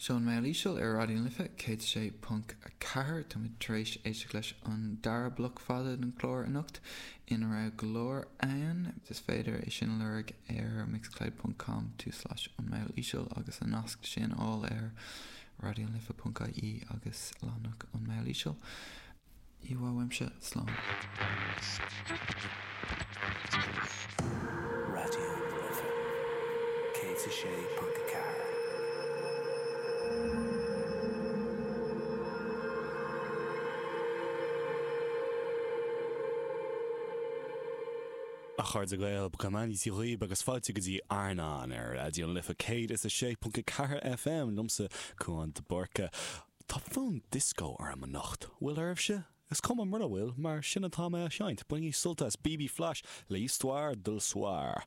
Seo an Meall Íseal ar Raidió na Life 106.4. Táimid tar éis éisteacht leis an dara bloc fada den chlár anocht, ina raibh go leor ann. Is féidir é sin a lorg ar mixcloud ponc com tulslais an Meall Íseal agus an nasc sin a fháil ar raidionalife.ie agus leathanach an Meall Íseal. Íomhá uaimse, slán. Raidió na Life 106.4. A chairde Gael, go mbeannaí Dia dhaoibh agus fáilte go dtí Airneán ar Raidió na Life 106.4 FM, liomsa, Cúán de Búrca. Tá fonn dioscó orm anocht. Bhfuil oraibhse? Is cuma mura bhfuil, mar sin atá mé á sheinnt. Bainigí sult as BB Flash le Histoire de Soir.